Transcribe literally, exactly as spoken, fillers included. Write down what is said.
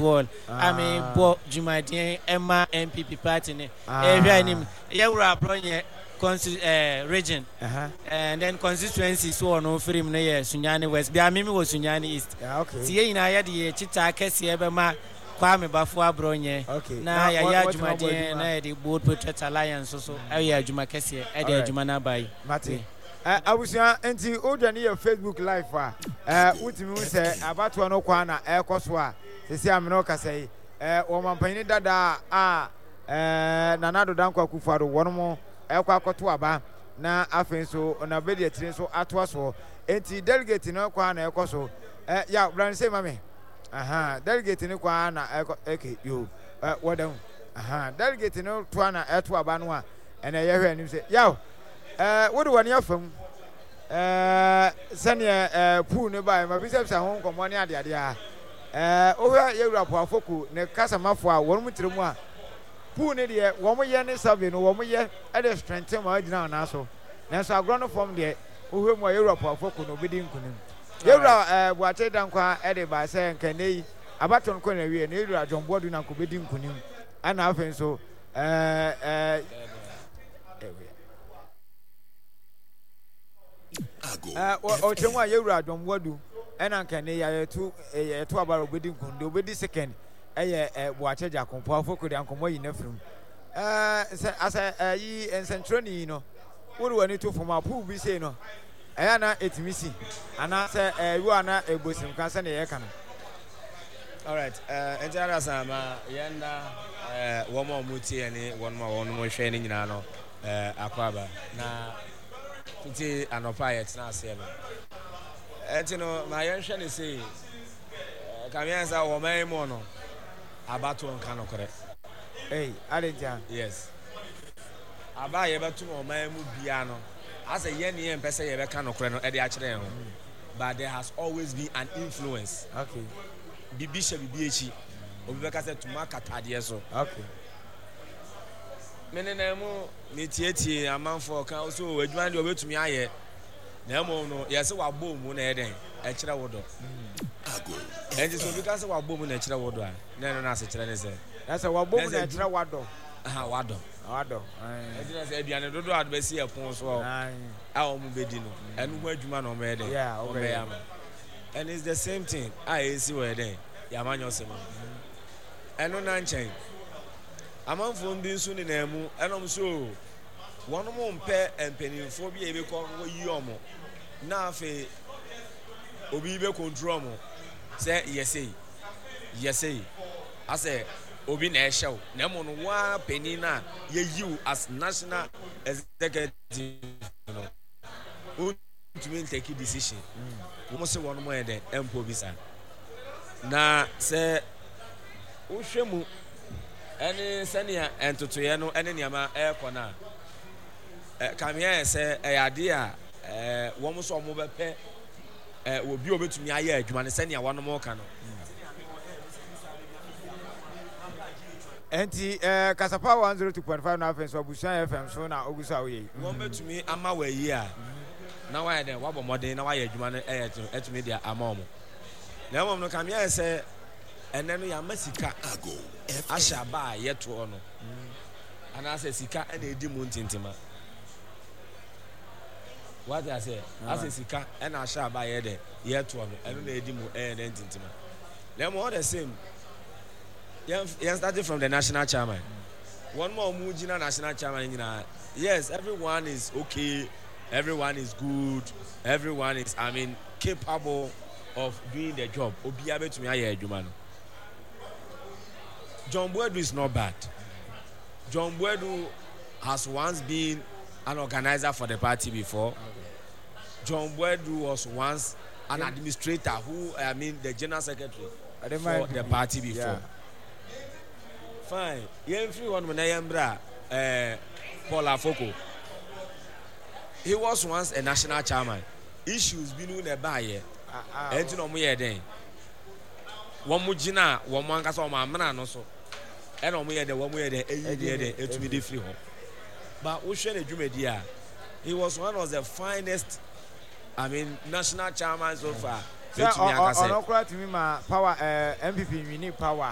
Ward a mebɔ dwumadeɛ ɛma N P P party ne ɛhwɛ anim yɛwura Abronye consti eh, region Uh-huh. And then constituency so ɔno firi mu no yɛ Sunyani West, bia mimi wɔ Sunyani East. Yeah, okay. Nti yɛn nyinaa yɛde yɛ kyitaa kɛseɛ bɛma Kwame Bafo Abronye Okay. na Na yɛayɛ wɔ- wɔtumi abɔ adwumadeɛ adwuma. Na yɛde Bold Patriot Alliance so so ɛyɛ adwuma kɛseɛ ɛde Alright. adwuma no aba yi. Mate. Ɛ, abusua, nti wodwa ne yɛ Facebook Live a, ɛ, wotumi hu sɛ abatoɔ no kwan na ɛrekɔ so a sɛsi amene ɔkasa yi, ɛ, wɔmampanyini dadaa a ɛ, Nana Addo Dankwa Akufo-Addo wɔn mo ɛkɔ akɔto aba na afei nso na bɛdi akyire nso atoa soɔ. Nti delegate no kwan na ɛkɔ so. Ɛ, ya brane sɛ ma me aha delegate no kwan na ɛkɔ. Okay, yo, ɛ, wɔda mu aha delegate no toa na ɛto aba no a ɛna yɛhwɛ anim sɛ yaw, ɛɛ wode w'ani afa mu, ɛɛ sɛneɛ ɛɛ poll no baeɛ ma bisabisa ho nkɔmmɔ ne adeadeɛ a ɛɛ wohwɛ yɛwura Poafoko ne kasamafoɔ a wɔn mu tiri mu a poll no deɛ wɔn yɛ ne survey no wɔn yɛ ɛde strengthen ma agyina wɔn nan so, nanso agorɔ no fam deɛ wohwɛ mu a yɛwura Poafoko no obɛdi nkunim. Yɛwura ɛɛ Buakye Dankwa ɛde baa sɛ nkɛnɛ yi abato no kɔ na wie no yɛwura John Boadu na nko bɛdi nkunim, ɛna afei nso ɛɛ ɛɛ ɔkyerɛ mu a yɛwura John Boadu ɛna nkɛnɛ yi yɛto yɛto aba a obɛdi nkunim. Deɛ obɛdi second ɛyɛ ɛ Buakye Gyako. Poafoko de ankɔmɔ yi n'afirim ɛɛ sɛ asɛ ɛyi nsɛntwerɛni yi no wode w'ani to fam a poll bi sei no ɛyɛ na ɛtumi si anaasɛ ɛyi ana ɛbɔ sirimka sɛdeɛ yɛka no? Alright, uh, nti adasa ma yɛn na uh, wɔn a wɔn tie ne wɔn a wɔn hwɛ ne nyinaa no uh, akɔ aba na tete anɔpa a yɛtena aseɛ no. Ɛnti no ma yɛnhwɛ ne sei, kamea sɛ wɔ man mu no abatoɔ nka nokorɛ. Ei, ade ntia? Yes, aba a yɛbɛto no ɔman mu biara no asɛ yɛn ne yɛn mpɛ sɛ yɛbɛka nokorɛ no ɛde akyerɛ yɛn ho, but there has always been an influence. Okay bibi hyɛ bibi akyi, obi bɛka sɛ tuma katadeɛ so. Okay me nenam mu metietie amanfoɔ ka so adwuma deɛ ɔbɛtumi ayɛ, na mmom no yɛsɛ wabɔ mu na ɛyɛ dɛn ɛkyerɛ wo dɔ. Ɛnti sɛ obi ka sɛ wabɔ mu na ɛkyerɛ wo dɔ a, na ɛno no asekyerɛ ne sɛ Na sɛ wabɔ mu na ɛkyerɛ wadɔ. Aha, wadɔ. Wadɔ. Ɛnti na sɛ aduane dodoɔ a bɛsi ɛpon so a wɔn bɛdi no, ɛno ho adwuma na wɔn bɛyɛ dɛn wɔn bɛyɛ ama. And it's the same thing a ɛsi wɔ yɛ dɛn yɛamanyɔ sɛm mu. Ɛno na nkyɛn amanfoɔ bi nso nenam mu ɛnam so wɔn mo mpɛ mpanimfoɔ bi a ebɛkɔ yi wɔn na afei obi bɛ control wɔn sɛ yɛsei yɛsei asɛ obi na ɛhyɛ wo, na ɛmo no waa panin na yɛyi wo as national executive no wontumi ntake decision. Wɔn sɛ wɔn mo yɛ dɛ ɛmpo bi saa. Na sɛ wohwɛ mu ɛne sɛnea ntotoeɛ no ɛne nneɛma ɛrekɔ no a, kamea yɛ sɛ ɛyɛ adeɛ a ɛɛ wɔn nso wɔn bɛpɛ ɛɛ obi a obetumi ayɛ adwuma no sɛnea wɔn ka no. Nti ɛɛ Kasapa one zero two point five na afei nso Abusua F M so na ogu so a woyɛ yi. Wɔn bɛtumi ama wɔ ayi a na wayɛ dɛ wabɔ mmɔden na wayɛ adwuma no ɛyɛ ɛtumi de ama wɔn, na mmom no kamea yɛ sɛ ɛnɛ no yɛama sika ahyɛ aba a yɛtoɔ no anaasɛ sika ɛna edi mu ntintima wate aseɛ asɛ sika ɛna ahyɛ aba a yɛ dɛ yɛtoɔ no, ɛno na edi mu ɛyɛ dɛ ntintima. Na mmom all the same yɛn yɛn starting from the national chairman, wɔn mu a wɔn gyina national chairman nyinaa, yes, everyone is okay, everyone is good, everyone is, I mean, capable of doing the job. Obiara bɛtumi ayɛ adwuma no. John Boadu is not bad. John Boadu has once been an organizer for the party before. John Boadu was once an administrator who, I mean, the general secretary for the party before. Yeah. Fine. Yɛn firi hɔ nom na yɛn bra ɛɛ Paul Afoko. He was once a national chairman. Issues bi no na ɛbaayɛ. Ɛnti na wɔn yɛ dɛn? Wɔn gyina wɔn ankasa wɔn amena no so. Ɛna wɔn yɛ dɛ wɔn yɛ dɛ eyi deɛ dɛ etumi de firi hɔ. But wohwɛ ne dwumadi a, he was one of the finest, I mean, national chairman so far. Sɛ ɔno koraa tumi ma power ɛɛ N P P nwini power.